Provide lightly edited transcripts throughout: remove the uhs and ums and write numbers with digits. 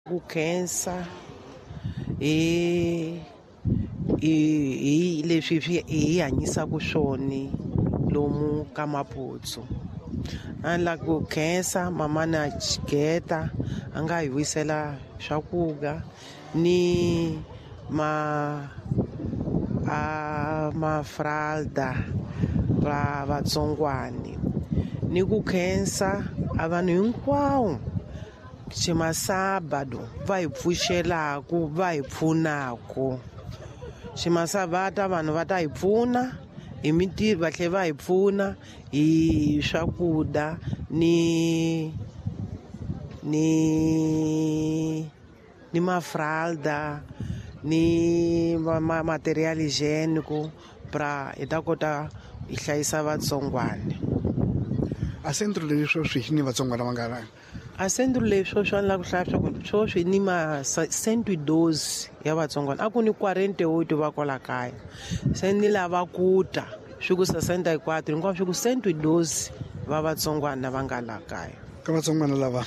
Ku khensa hi hi hi leswi swi hi hanyisaka swona lomu ka Maputo. A ni lava ku khensa mamana Geta a nga hi wisela swakudya ni ma a mafralda va vatsongwani ni ku khensa a vanhu hinkwawo ximasabado va hi pfuxelaku va hi pfunaku ximasabata vanhu va ta hi pfuna hi mintirho va tlhela va hi pfuna hi swakudya ni ni ni mafralda ni ma material hygienico pra hi ta kota hi hlayisa vatsongwana. A centro leyi sweswi ni vatsongwana va nga A centro leyi sweswi a ni lava ku hlaya swa ku sweswi ni ma cento e doze ya vatsongwana a ku ni quarenta e oito va kwala kaya se ni lava ku ta swi ku sessenta e quatro hinkwaswo swi ku cento e doze va vatsongwana va nga la kaya. Ka vatsongwana lava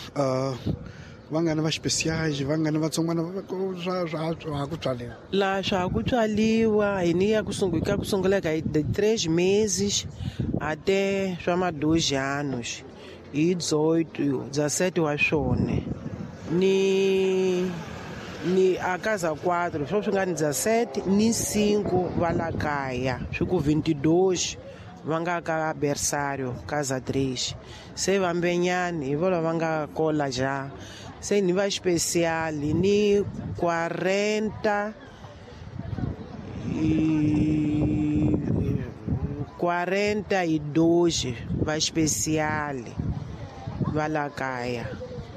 va nga ni va xipesiyaji va nga ni vatsongwana swa swa swa ha ku tswaliwa. Laha swa ha ku tswaliwa hi ni ya ku ka ku sungula ka hi três meses até swa ma dois anos. Hi 18 17 wa swona ni ni a casa 4 swo swi nga ni 17 ni 5 va la kaya swi ku 22 va nga ka berçário casa 3 se vambenyani hi vona va nga kola ja se ni va especial ni 40 42 va especial va la kaya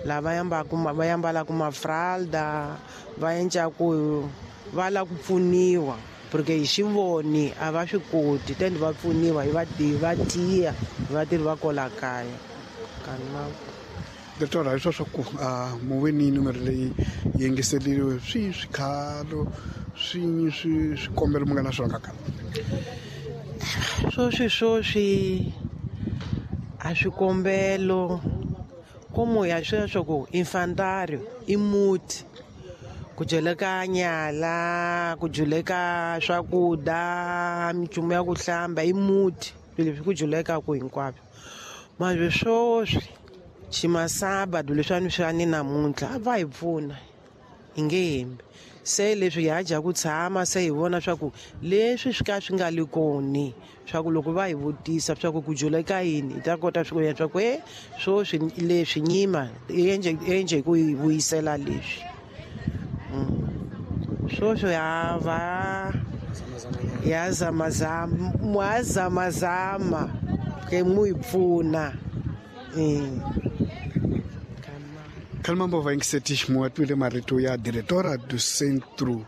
lava yambaku va yambalaka mafralda va endlaku va lava ku pfuniwa porque hi xivoni a va swi koti tende va pfuniwa hi va tiya hi vatirhi va kwala kaya Doctor hi swa swa ku mu ve ni numero leyi yingiseriwe swi swikhalo swi swi swikombelo mi nga na swona ka sweswi sweswi a swikombelo como ya sweswo ku infantário i muti ku dyeleka nyala ku dyeleka swakudya minchumu ya ku hlamba i muti swilo leswi ku dyelekaku hinkwaswo manje sweswi ximasabado leswiwani swa ni namuntlha a va hi pfuna hi nge hembi se leswi ha dya ku tshama se hi vona swa ku leswi swi ka swi nga li koni swa ku loko va hi vutisa swa ku ku juleka yini hi ta kota swi ku swa ku e sweswi leswi nyima enje enje ku hi vuyisela leswi sweswi ha va ya zamazama mwa zamazama ke mu hi pfuna. Khalimambo vaingiseti muwatwile marito ya diretora do Centro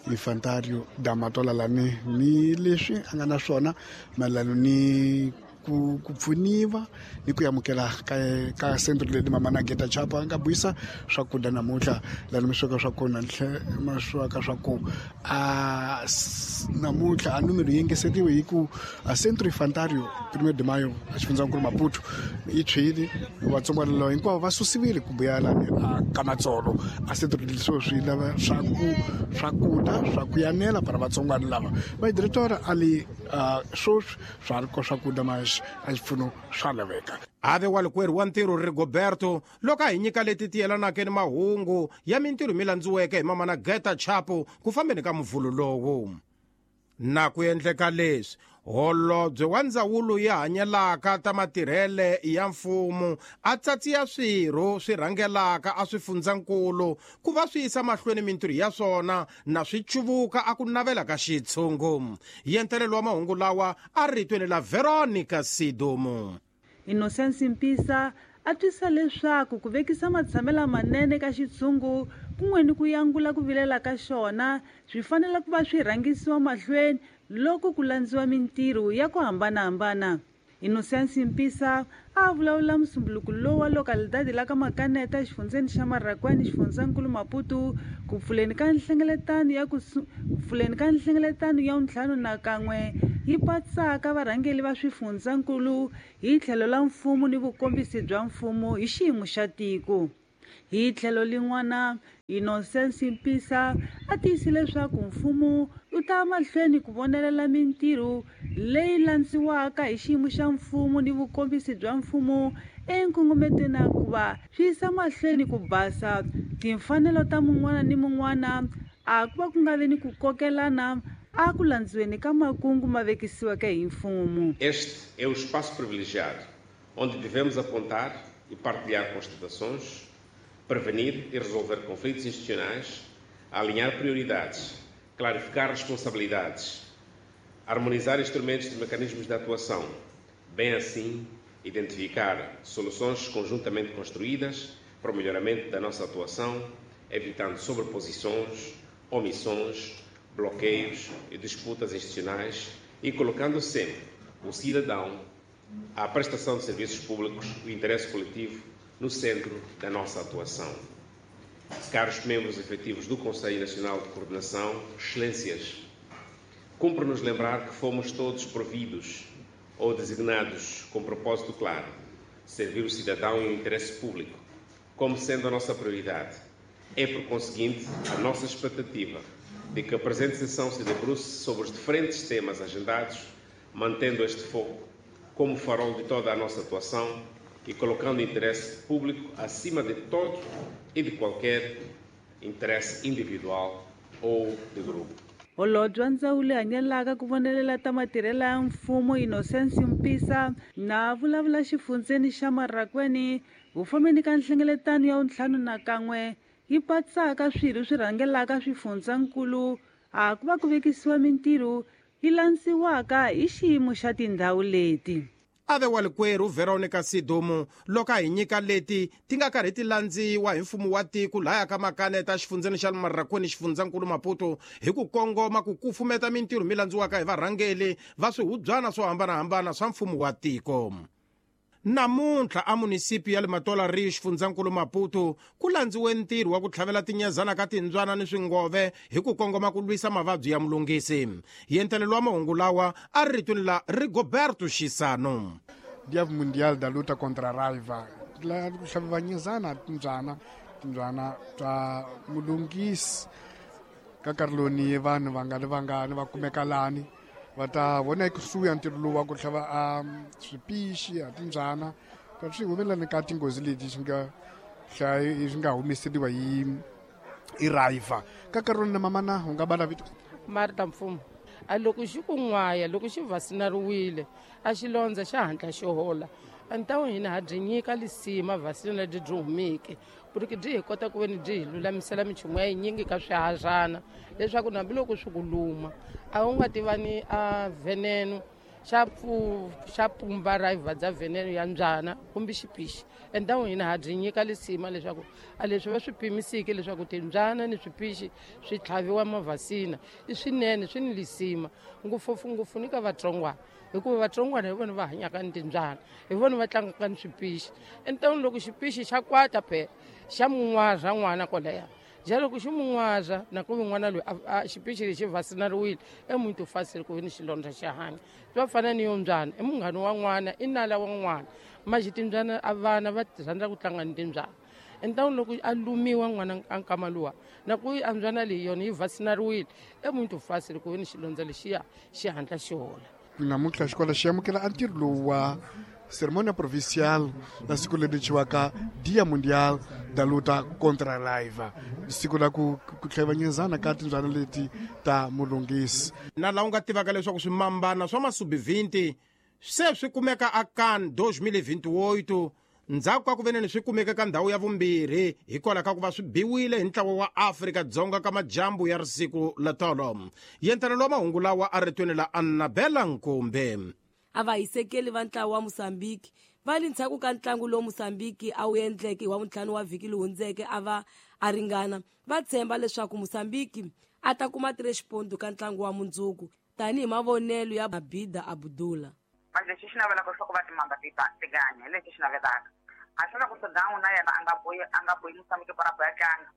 Infantário da Matola lani ni leswi a nga na swona mayelana ni ku ku pfuniwa ni ku amukela ka ka centro leyi mama na Geta Chapa a nga buisa swakudya namuntlha lani mi sweka swa kona ma sweka swa ku a namuntlha a numero yi engeseriwe hi ku a Centro Infantário Primeiro de Maio a xifundzankulu Maputo yi tshwile vatsongwana lava hinkwavo va susiwile ku vuya lani a ka Matsolo a centro leswo swi lava swa ku swakudya swa ku yanela para vatsongwana lava va diretora a li sweswi swa ri ko swakudya ma a xipfuno swa laveka. Ave walikwerhu wa ntirho Rigoberto loko a hi nyika leti ti yelanaka ni mahungu ya mintirho mi landziweke hi mamana Geta Chapo ku fambeni ka muvhulu lowu. Na ku endleka leswi, holobye wa ndzawulo ya hanyelaka ta matirhele ya mfumo a tsatsiya swirho swi rhangelaka a swifundzankulu ku va swi yisa mahlweni mintirho ya swona na swi cuvuka a ku navela ka xitshungu. Yentelelo wa mahungu lawa a ritweni la Veronica Sidumo. Innocence Mpisa a twisa leswaku ku vekisa matshamelo manene ka xitshungu kun'we ni ku yangula ku vilela ka xona swi fanele ku va swi rhangisiwa mahlweni loko ku landziwa mintirho ya ku hambanahambana. Innocence Mpisa a vulavula musumbuluko lowu wa localidade la ka Makaneta exifundzeni xa Marracuene xifundzankulu Maputo ku pfuleni ka nhlengeletano ya ku pfuleni ka nhlengeletano ya ntlhanu na kan'we yi patsaka varhangeli va swifundzankulu hi tlhelo la mfumo ni vukombisi bya mfumo hi xiyimo xa tiko. Hi tlhelo lin'wana, Innocence Mpisa a tiyise leswaku mfumo wu ta mahlweni ku vonelela mintirho leyi landziwaka hi xiyimo xa mfumo ni vukombisi bya mfumo enkongometweni ya ku va swi yisa mahlweni ku basa timfanelo ta mun'wana ni mun'wana, a ku va ku nga vi ni ku kokelana a ku landziweni ka makungu ma vekisiweke hi mfumo. Este é o espaço privilegiado onde devemos apontar e partilhar constatações, prevenir e resolver conflitos institucionais, alinhar prioridades, clarificar responsabilidades, harmonizar instrumentos e mecanismos de atuação, bem assim identificar soluções conjuntamente construídas para o melhoramento da nossa atuação, evitando sobreposições, omissões, bloqueios e disputas institucionais e colocando sempre o cidadão, a prestação de serviços públicos e o interesse coletivo no centro da nossa atuação. Caros membros efetivos do Conselho Nacional de Coordenação, Excelências, cumpre-nos lembrar que fomos todos providos ou designados com propósito claro, servir o cidadão e o interesse público, como sendo a nossa prioridade. É, por conseguinte, a nossa expectativa de que a presente sessão se debruce sobre os diferentes temas agendados, mantendo este foco como farol de toda a nossa atuação e colocando o interesse público acima de todo e de qualquer interesse individual ou de grupo. Holobye wa ndzawulo hanyelaka ku vonelela ta matirhelo ya mfumo Innocence Mpisa na vulavula xifundzeni xa Marracuene vufambeni ka nhlengeletano ya 51 yi patsaka swirho swi rhangelaka swifundzankulu a ku va ku vekisiwa mintirho yi landziwaka hi xiyimo xa tindhawu leti. Ave walikwerhu Veronica Sidumo loko a hi nyika leti ti nga karhi ti landziwa hi mfumo wa tiko laya ka makaneta xifundzeni xa Marracuene xifundzankulu Maputo hi ku kongoma ku kufumeta mintirho mi landziwaka hi varhangeli va swihubyana swo hambanahambana swa mfumo wa tiko. Namuntlha a munisipi ya le Matola Rio xifundzankulu Maputo ku landziwe ntirho wa ku tlhavela tinyezana ka timbyana ni swingove hi ku kongoma ku lwisa mavabyi ya mulungisi. Yentelelo wa mahungu lawa a ri ritweni la Rigoberto Xisano. Dia Mundial da Luta contra a Raiva la ku tlhaviwa nyezana timbyana ta mulungisi ka nkarhi loni vanhu vangani vangani va kumeka lani va ta vona ekusuhi ya ntirho lowu wa ku tlhava a swipixi a timbyana ta swi humelelani ka tinghozi leti swi nga swi nga humeseriwa hi raiva ka nkarhi loni na mamana u nga bala vito Marta Mfumo. A loko xi ku n'waya loko xi vasinariwile a xi londza xa hatla xi hola a ni ta hina ha byi nyika lisima vasina lebyi byi humeke ku ri byi hi kota ku veni byi hi lulamisela minchumu ya yinyingi ka swihadyana leswaku hambiloko swi ku luma a wu nga tivani a veneno xa pumba raiva bya veneno ya mbyana kumbe xipixi. Endhawu hina ha byi nyika lisima leswaku a leswi va swi pimisiki leswaku timbyana ni swipixi swi tlhaviwa mavhasina i swinene swi ni lisima ngopfungopfu ni ka vatsongwana hikuva vatsongwana hi vona va hanyaka ni timbyana hi vona va tlangaka ni swipixi. Endhawini loko xipixi xa kwata phela xa mun'waza n'wana kwalaya ja loko xi mun'waza na ku n'wana loyi a xipixi lexi vasinariwile emuntu fasile ku ni xilondza xa hanya swa fana ni yo mbyana i munghana wa n'wana i nala wa n'wana maxi timbyana a vana va rhandza ku tlanga ni timbyana. Endhawini loko a lumiwa n'wana a nkama luwa na ku a mbyana leyi yona yi vasinariwile emuntu fasile ku ni xilondza lexiya xi hatla xi hola. Namuntlha xikolo xi amukela a ntirho lowu wa cerimônia provincial na siku leri thyiwaka Dia Mundial da Luta contra a Raiva, siku la ku tlhevanyezana ka timbyana leti ta mulungisi. Na laha u nga tivaka leswaku swimambana swa masubi 20 se swi kumeka a CAN 2028 ndzhaku ka ku veneni swi kumeka ka ndhawu ya vumbirhi hikwalaho ka ku va swi biwile hi ntlawa wa Afrika-Dzonga ka majambu ya risiku la tolo. Yentelelo wa mahungu lawa a ritweni la Annabella Nkumbe. A va hisekeli va ntlawa wa Mozambique va le ndzhaku ka ntlangu lowu Mozambique a wu endleke hi wa vuntlhanu wa vhiki lowu hundzeke a va a ringana va tshemba leswaku Mozambique a ta kuma 3 ponto ka ntlangu wa mundzuku tanihi mavonelo ya Abida Abdullah. Manje lexi xi navelaka leswaku va timamba ti tiganya hi lexi xi navelaka a swi lava ku Sudan na yena a nga bohi Mozambique para boya tlanga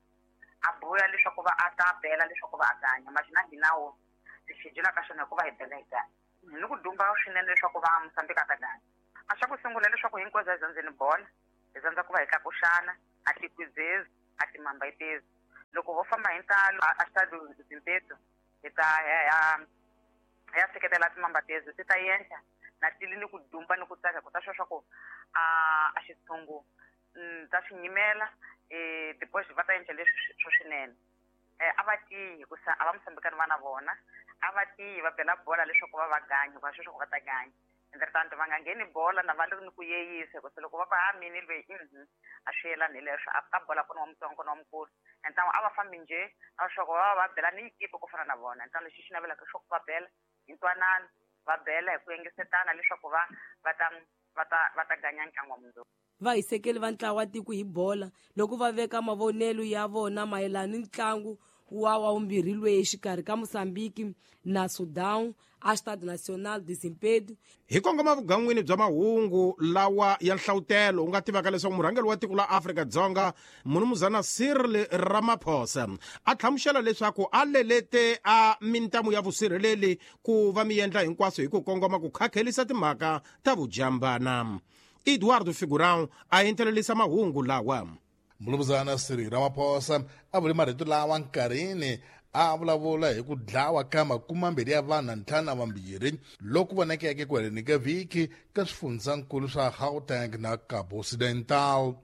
a boya leswaku va a ta bela leswaku va a ganya manje na hina wo xijula ka xona hikuva hi bela hi ganya ni ku dumba swinene leswaku va Mozambique a ta ganya. A xa ku sungula leswaku hinkwenu hi zandzeni bola hi zandza ku va hi tlakuxana A tikwizezi a timambaitezi loko ho famba hi ntalo a xitado Zimpeto hi ta ya seketela timambatezi ti ta endla na tili ni ku dumba ni ku tsaka ku ta swa ku a xitshungu ta swi nyimela depois va ta endla leswi swo swinene. A va tiyi hikusa a va musambikani va na vona, a va tiyi va bela bola leswaku va va ganyi va sweswo va ta ganya. Entretanto va nga ngheni bola na va ri ni ku yeyisa hikusa loko va ku ha mini lweyi a swi yelani hi leswo a ka bola kona wa mutsongo kona wa mukulu. Entano a va fambi njhe a swa ku va va bela ni yikipe ku fana na vona. Entano lexi xi navelaka leswaku va bela hi ntwanano, va bela hi ku yengisetana leswaku va va ta va ta va ta ganya ntlangu wa mundzuku. Vahisekeli va ntlawa wa tiko hi bola loko va veka mavonelo ya vona mayelana ni ntlangu wa wavumbirhi lweyi exikarhi ka Mozambique na Sudan a Stade National de Zimpeto. Hi kongoma vugan'wini bya mahungu lawa ya nhlavutelo u nga tivaka leswaku murhangeri wa tiko la Afrika-Dzonga Munumuzana Cyril Ramaphosa a hlamusela leswaku a lelete a mintamu ya vusirheleli ku va mi endla hinkwaswo hi ku kongoma ku khakhelisa timhaka ta vujambana. Eduardo Figurão a entelelisa mahungu lawa. Mulumuzana Cyril Ramaphosa a vule marito lawa nkarhini a vulavula hi ku dlawa ka 22 ya vanhu na 52 loku vonakeke ku heleni ka vhiki ka swifundzankulu swa Gauteng na Cabo Occidental.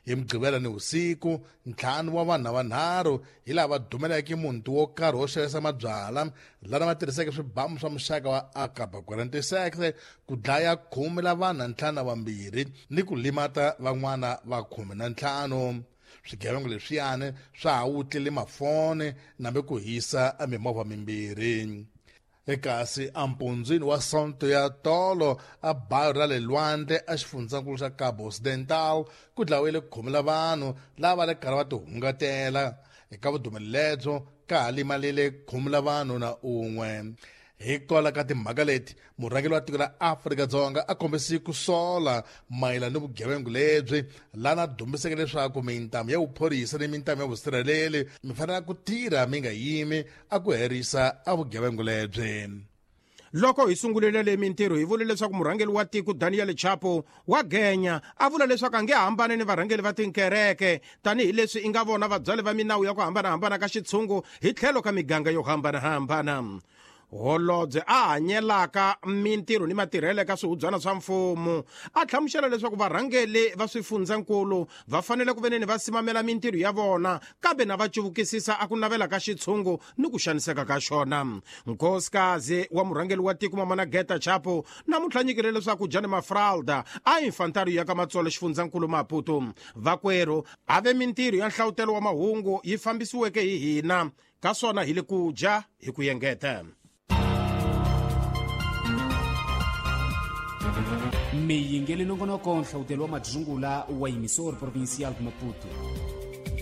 Hi Mugqivela ni vusiku, 5 wa vanhu vanharhu hi lava dumeleke muti wo karhi wo xavisa mabyala lana va tirhiseke swibamu swa muxaka wa AK-46 ku dlaya 10 la vanhu 52 ni ku limata van'wana va 15. Swigevenga leswiyani swa ha wutlile mafoni nambe ku hisa mimovha mimbirhi. Ekasi ampundzwini wa Sonto ya tolo a bayo ra le lwandle a xifundzankulu xa Cabo Occidental ku dlawile 10 la vanhu lava le karhi va tihungatela. Eka vudumeli lebyo ka ha limalile 10 la vanhu na 1. Hikwalaho ka timhaka leti, murhangeri wa tiko la Afrika-Dzonga a kombise ku sola mayelana ni vugevenga lebyi lana dumbiseke leswaku mintamu ya vuphorisa ni mintamu ya vusirheleli mi fanele ku tirha mi nga yimi a ku herisa a vugevenga lebyi. Loko hi sungulile le mintirho hi vule leswaku murhangeri wa tiko Daniel Chapo wa genya a vula leswaku a nge hambani ni varhangeri va tinkereke tanihileswi i nga vona vabyali va minawu ya ku hambanahambana ka xitshungu hi tlhelo ka miganga yo hambanahambana. Holobye a hanyelaka mintirho ni matirhelo ka swihubyana swa mfumo a hlamusela leswaku varhangeri va swifundzankulu va fanele ku veneni va simamela mintirho ya vona kambe na va cuvukisisa a ku navela ka xitshungu ni ku xaniseka ka xona. Nkosikazi wa murhangeri wa tiko Mamana Geta Chapo namuntlha nyikile leswaku Jane Mafralda a infantario ya ka Matsolo xifundzankulu Maputo vakwerhu a ve mintirho ya nhlavutelo wa mahungu yi fambisiweke hi hina ka swona hi le ku dya hi ku yengeta. Miyingeli nongonoko nhlavutelo wa madzungula wa Emissor Provincial de Maputo.